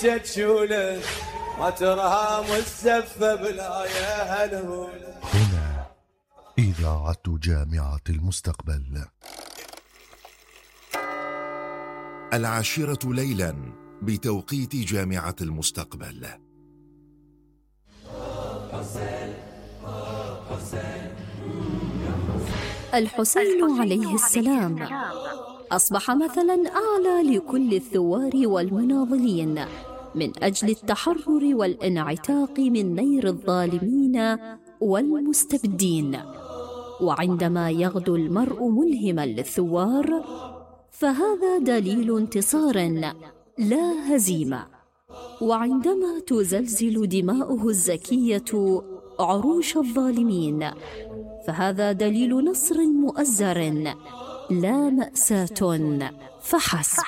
تشوله ما ترها مزفه بلا يا هالهوله. هنا إذاعة جامعة المستقبل. 10 ليلا بتوقيت جامعة المستقبل. الحسين عليه السلام أصبح مثلا أعلى لكل الثوار والمناضلين من أجل التحرر والانعتاق من نير الظالمين والمستبدين. وعندما يغدو المرء ملهما للثوار فهذا دليل انتصار لا هزيمة، وعندما تزلزل دماؤه الزكية عروش الظالمين فهذا دليل نصر مؤزر لا مأساة فحسب.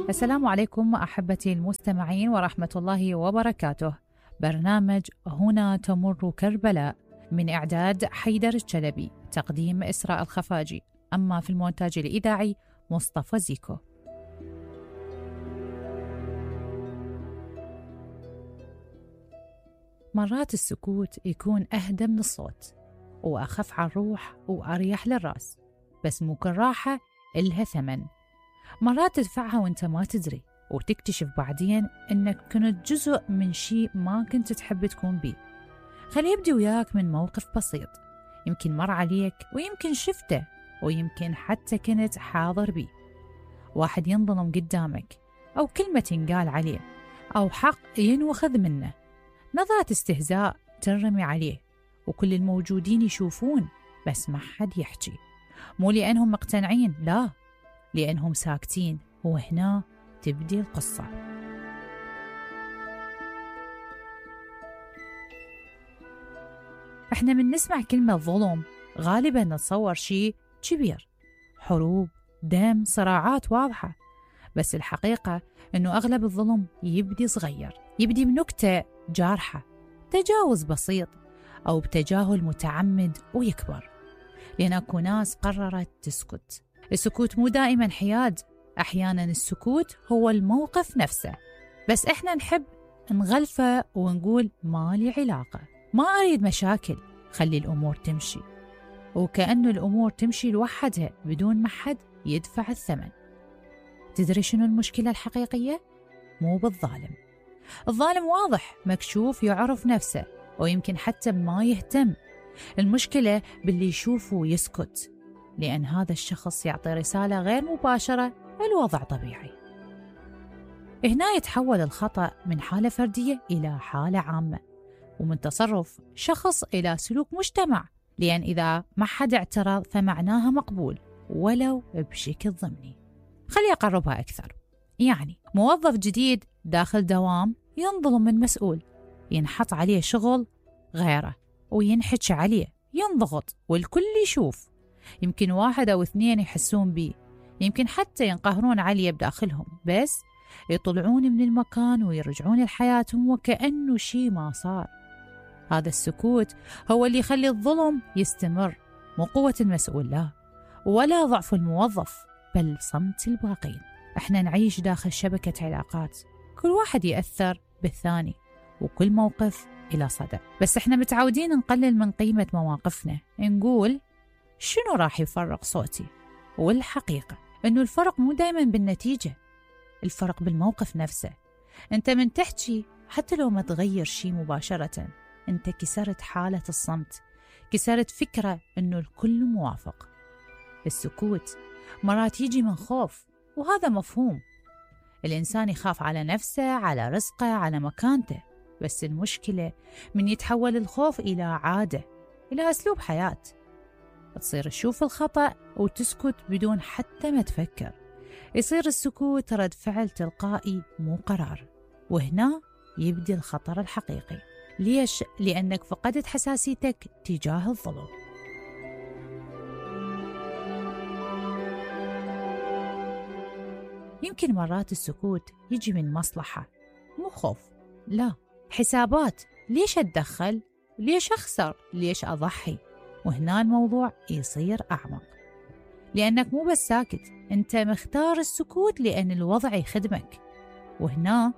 السلام عليكم أحبتي المستمعين ورحمة الله وبركاته. برنامج هنا تمر كربلاء من إعداد حيدر الشلبي، تقديم إسراء الخفاجي، أما في المونتاج الإذاعي مصطفى زيكو. مرات السكوت يكون أهدى من الصوت وأخف على الروح وأريح للرأس، بس مو كل راحة إلها ثمن. مرات تدفعها وانت ما تدري وتكتشف بعدين انك كنت جزء من شيء ما كنت تحب تكون بيه. خلي يبدي وياك من موقف بسيط يمكن مر عليك ويمكن شفته ويمكن حتى كنت حاضر بيه. واحد ينظلم قدامك أو كلمة تنقال عليه أو حق ينوخذ منه، نظرة استهزاء ترمي عليه وكل الموجودين يشوفون بس ما حد يحكي، مو لأنهم مقتنعين، لا، لأنهم ساكتين. وهنا تبدي القصة. احنا من نسمع كلمة ظلم غالبا نتصور شيء كبير، حروب، دم، صراعات واضحة، بس الحقيقة انه اغلب الظلم يبدي صغير، يبدي بنكتة جارحة، تجاوز بسيط او بتجاهل متعمد ويكبر، لأن اكو ناس قررت تسكت. السكوت مو دائما حياد، أحيانا السكوت هو الموقف نفسه، بس إحنا نحب نغلفه ونقول ما لي علاقة، ما أريد مشاكل، خلي الأمور تمشي، وكأنه الأمور تمشي لوحدها بدون ما حد يدفع الثمن. تدري شنو المشكلة الحقيقية؟ مو بالظالم، الظالم واضح مكشوف يعرف نفسه ويمكن حتى ما يهتم. المشكلة باللي يشوفه ويسكت، لأن هذا الشخص يعطي رسالة غير مباشرة الوضع طبيعي. هنا يتحول الخطأ من حالة فردية إلى حالة عامة، ومن تصرف شخص إلى سلوك مجتمع، لأن إذا ما حد اعترض فمعناها مقبول ولو بشكل ضمني. خلي أقربها أكثر، يعني موظف جديد داخل دوام ينظلم من مسؤول، ينحط عليه شغل غيره وينحكي عليه، ينضغط والكل يشوف، يمكن 1 أو 2 يحسون بيه، يمكن حتى ينقهرون عليه بداخلهم، بس يطلعون من المكان ويرجعون لحياتهم وكأنه شيء ما صار. هذا السكوت هو اللي يخلي الظلم يستمر، مو قوة المسؤول لا، ولا ضعف الموظف، بل صمت الباقين. احنا نعيش داخل شبكة علاقات، كل واحد يأثر بالثاني وكل موقف إلى صدى، بس احنا متعودين نقلل من قيمة مواقفنا، نقول شنو راح يفرق صوتي؟ والحقيقة إنه الفرق مو دايما بالنتيجة، الفرق بالموقف نفسه. أنت من تحكي حتى لو ما تغير شيء مباشرة، أنت كسرت حالة الصمت، كسرت فكرة إنه الكل موافق. السكوت مرات يجي من خوف، وهذا مفهوم، الإنسان يخاف على نفسه، على رزقه، على مكانته، بس المشكلة من يتحول الخوف إلى عادة، إلى أسلوب حياة، تصير تشوف الخطأ وتسكت بدون حتى ما تفكر، يصير السكوت رد فعل تلقائي مو قرار. وهنا يبدي الخطر الحقيقي. ليش؟ لأنك فقدت حساسيتك تجاه الظلم. يمكن مرات السكوت يجي من مصلحة، مو خوف، لا، حسابات. ليش أتدخل؟ ليش أخسر؟ ليش أضحي؟ وهنا الموضوع يصير أعمق، لأنك مو بس ساكت، أنت مختار السكوت لأن الوضع يخدمك. وهنا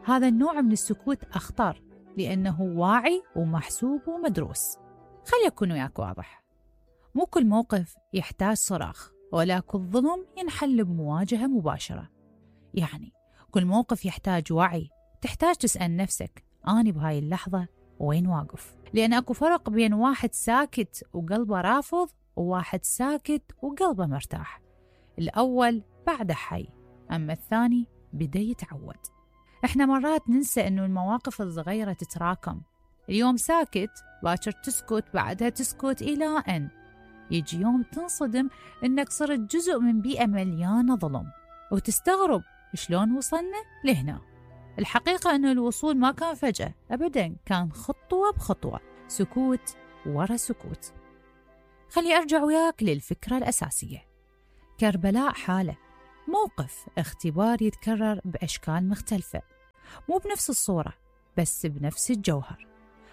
هذا النوع من السكوت أخطر لأنه واعي ومحسوب ومدروس. خلي أكون وياك واضح، مو كل موقف يحتاج صراخ، ولا كل ظلم ينحل بمواجهة مباشرة. يعني كل موقف يحتاج وعي، تحتاج تسأل نفسك أنا بهاي اللحظة وين واقف؟ لأن أكو فرق بين واحد ساكت وقلبه رافض وواحد ساكت وقلبه مرتاح. الأول بعده حي، أما الثاني بدأ يتعود. إحنا مرات ننسى إنه المواقف الصغيرة تتراكم. اليوم ساكت، باكر تسكت، بعدها تسكت، إلى أن يجي يوم تنصدم إنك صرت جزء من بيئة مليانة ظلم، وتستغرب شلون وصلنا لهنا. الحقيقة إنه الوصول ما كان فجأة أبداً، كان خطوة بخطوة، سكوت ورا سكوت. خلي أرجع وياك للفكرة الأساسية. كربلاء حالة، موقف اختبار يتكرر بأشكال مختلفة، مو بنفس الصورة بس بنفس الجوهر.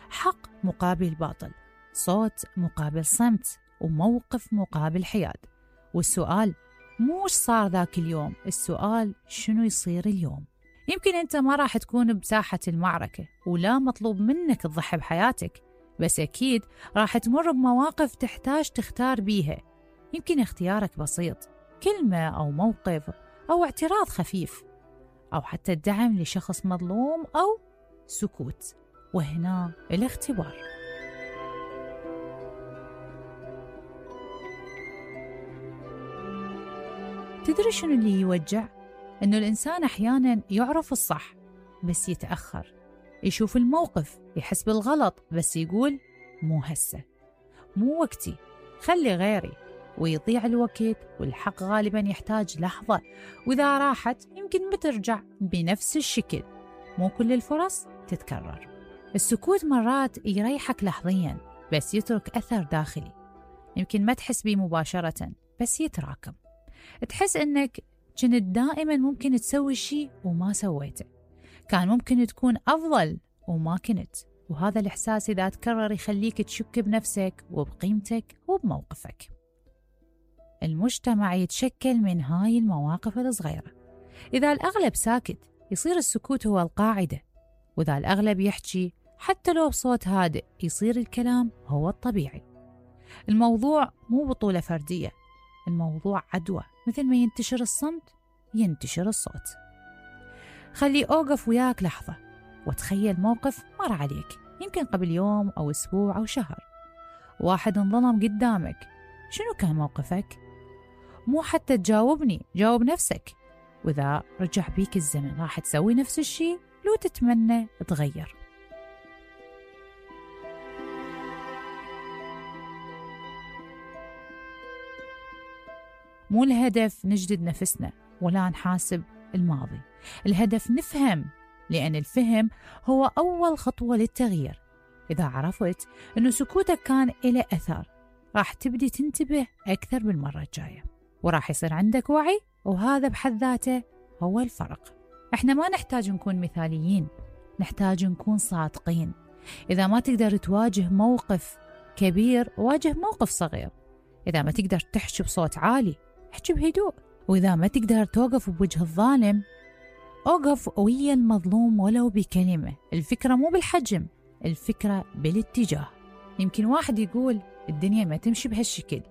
حق مقابل باطل، صوت مقابل صمت، وموقف مقابل حياد. والسؤال مو وش صار ذاك اليوم، السؤال شنو يصير اليوم. يمكن أنت ما راح تكون بساحة المعركة ولا مطلوب منك تضحي بحياتك، بس أكيد راح تمر بمواقف تحتاج تختار بيها. يمكن اختيارك بسيط، كلمة أو موقف أو اعتراض خفيف، أو حتى الدعم لشخص مظلوم، أو سكوت. وهنا الاختبار. تدري شنو اللي يوجع؟ إنه الإنسان أحياناً يعرف الصح بس يتأخر، يشوف الموقف يحس بالغلط بس يقول مو هسه، مو وقتي، خلي غيري، ويضيع الوقت. والحق غالباً يحتاج لحظة، وإذا راحت يمكن بترجع بنفس الشكل. مو كل الفرص تتكرر. السكوت مرات يريحك لحظياً بس يترك أثر داخلي، يمكن ما تحس بيه مباشرة بس يتراكم. تحس إنك كنت دائماً ممكن تسوي شيء وما سويته، كان ممكن تكون أفضل وما كنت. وهذا الإحساس إذا تكرر يخليك تشك بنفسك وبقيمتك وبموقفك. المجتمع يتشكل من هاي المواقف الصغيرة. إذا الأغلب ساكت يصير السكوت هو القاعدة، وإذا الأغلب يحكي حتى لو بصوت هادئ يصير الكلام هو الطبيعي. الموضوع مو بطولة فردية، الموضوع عدوى، مثل ما ينتشر الصمت ينتشر الصوت. خلي أوقف وياك لحظة وتخيل موقف مر عليك، يمكن قبل يوم أو أسبوع أو شهر. واحد انظلم قدامك، شنو كان موقفك؟ مو حتى تجاوبني، جاوب نفسك. وإذا رجع بيك الزمن راح تسوي نفس الشيء لو تتمنى تغير. مو الهدف نجدد نفسنا ولا نحاسب الماضي، الهدف نفهم، لأن الفهم هو أول خطوة للتغيير. إذا عرفت أنه سكوتك كان إله أثر راح تبدي تنتبه أكثر بالمرة الجاية، وراح يصير عندك وعي، وهذا بحد ذاته هو الفرق. إحنا ما نحتاج نكون مثاليين، نحتاج نكون صادقين. إذا ما تقدر تواجه موقف كبير واجه موقف صغير. إذا ما تقدر تحكي بصوت عالي احكي بهدوء. وإذا ما تقدر توقف بوجه الظالم أوقف ويا المظلوم ولو بكلمة. الفكرة مو بالحجم، الفكرة بالاتجاه. يمكن واحد يقول الدنيا ما تمشي بهالشكل،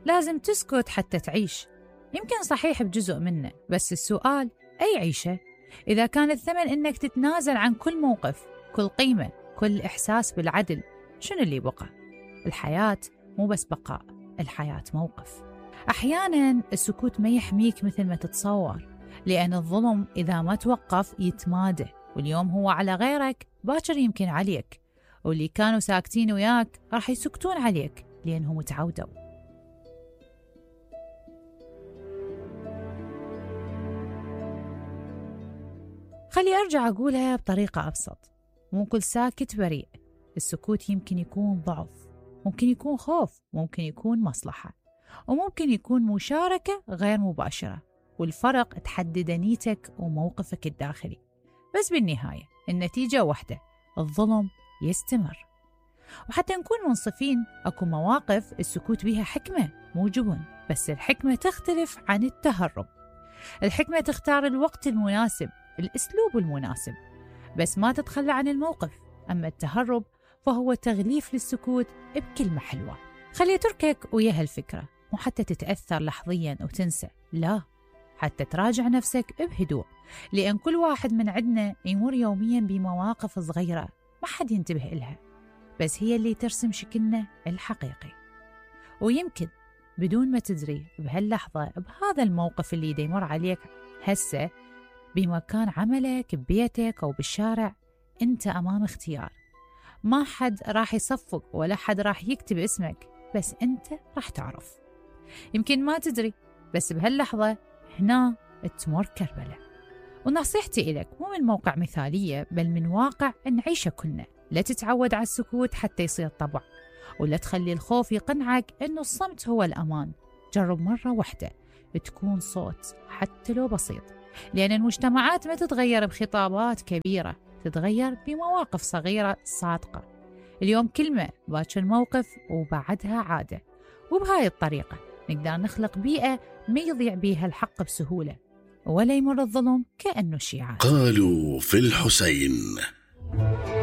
لازم تسكت حتى تعيش. يمكن صحيح بجزء منه، بس السؤال أي عيشة؟ إذا كان الثمن إنك تتنازل عن كل موقف، كل قيمة، كل إحساس بالعدل، شنو اللي بقى؟ الحياة مو بس بقاء، الحياة موقف. أحياناً السكوت ما يحميك مثل ما تتصور، لأن الظلم إذا ما توقف يتمادى، واليوم هو على غيرك باكر يمكن عليك، واللي كانوا ساكتين وياك راح يسكتون عليك لأنهم تعودوا. خلي أرجع أقولها بطريقة أبسط، مو كل ساكت بريء. السكوت يمكن يكون ضعف، ممكن يكون خوف، ممكن يكون مصلحة، وممكن يكون مشاركة غير مباشرة، والفرق تحدد نيتك وموقفك الداخلي. بس بالنهاية النتيجة واحدة، الظلم يستمر. وحتى نكون منصفين، أكو مواقف السكوت بها حكمة مو جبن، بس الحكمة تختلف عن التهرب. الحكمة تختار الوقت المناسب، الأسلوب المناسب، بس ما تتخلى عن الموقف. أما التهرب فهو تغليف للسكوت بكلمة حلوة. خلي تركك ويا هالفكرة، مو حتى تتأثر لحظيا وتنسى، لا، حتى تراجع نفسك بهدوء، لأن كل واحد من عندنا يمر يوميا بمواقف صغيرة ما حد ينتبه إلها، بس هي اللي ترسم شكلنا الحقيقي. ويمكن بدون ما تدري بهاللحظة بهذا الموقف اللي يمر عليك هسه بمكان عملك، ببيتك أو بالشارع، أنت أمام اختيار. ما حد راح يصفق ولا حد راح يكتب اسمك، بس أنت راح تعرف. يمكن ما تدري، بس بهاللحظة هنا تمر كربلة. ونصيحتي إلك مو من موقع مثالية، بل من واقع نعيشه كلنا. لا تتعود على السكوت حتى يصير طبع، ولا تخلي الخوف يقنعك إنه الصمت هو الأمان. جرب مرة واحدة تكون صوت حتى لو بسيط، لأن المجتمعات ما تتغير بخطابات كبيرة، تتغير بمواقف صغيرة صادقة. اليوم كلمة، باكر موقف، وبعدها عادة. وبهاي الطريقة نقدر نخلق بيئة ما يضيع بيها الحق بسهولة، ولا يمر الظلم كأنه شيعة. قالوا في الحسين.